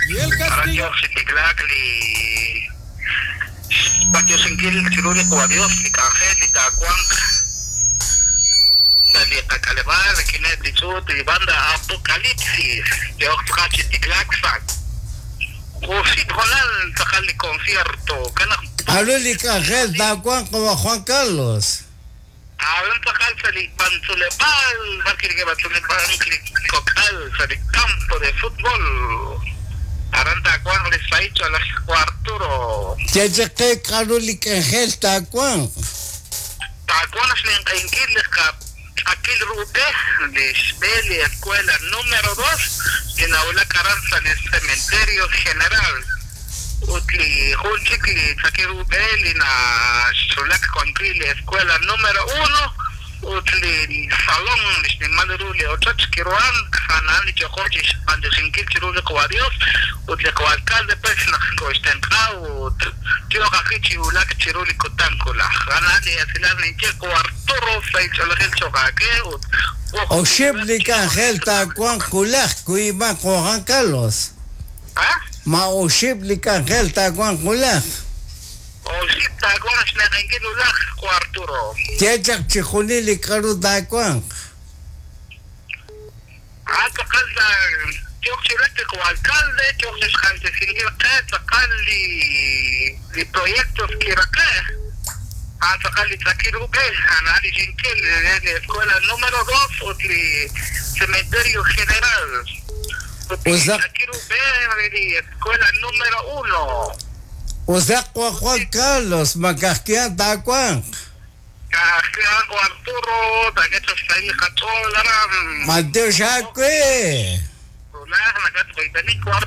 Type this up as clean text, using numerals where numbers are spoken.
Y el Aran castigo. yoq chi tiklaak li xb'antioxinkil chiru li Qawa' Dios li k'anjel li taawanq sa' li qak'aleb'aal rik'ineb' li ch'uut li banda Apocalipsis yoq tz'aqal chi tiklaak sa' oxib' hoonal tz'aqal li concierto kanaq K'aru li k'anjel taawanq qawa' Juan Carlos? Aran tz'aqal sa' li b'antz'uleb'aal b'arwi' neke'b'antz'uleb'ank li kok'al sa' li campo de futbol aran taawanq li sahil ch'oolej Juan Arturo. Ye chaq qe k'aru li k'anjel taawanq. Taawanq xninq'ehinkil li qatz'akil ru b'e li xb'e li escuela número 2 li nawulak aran sa' li cementerio general ut li jun chik li tz'akil ru b'e li naxwulak wan wi' li escuela número 1 ut li salón li xnimal ru li ochoch kiruhank a'an li yoqo chi xb'antioxinkil chiru li Qawa' Dios ut li Qawa' alcalde pues naq koxtenq'a ut yoq ajwi' chi wulak chiru li kutan wulaj a'an li esilal ninye Qawa' Arturo sahil ch'oolejil cho'q aawe ut Oxib' li k'anjel taawanq wulaj kuyb'an qawa' Juan Carlos. Ah? Ma oxib' li k'anjel taawanq wulaj. Oxib' taawanq xninq'ehinkil wulaj Qawa' Arturo. Ye chaq chixjunil li k'aru taawanq. A'an tz'aqal yoq chi wulak li Qawa' alcalde yoq chi xjaltesinkil qe tz'aqal li li proyectos kiraqe' a'an tz'aqal li tz'akil ru b'e a'an li xinkil re li escuela número 2 ut li cementerio general ut li Usaq tz'akil ru b'e re li escuela número 1. Usaq qawa' Juan Carlos makajkihan taawanq. Kajkihan Qawa' Arturo taak'e xsahil qach'ool aran. Matiox aawe. Wulaj nakatqoyb'eni Qawa'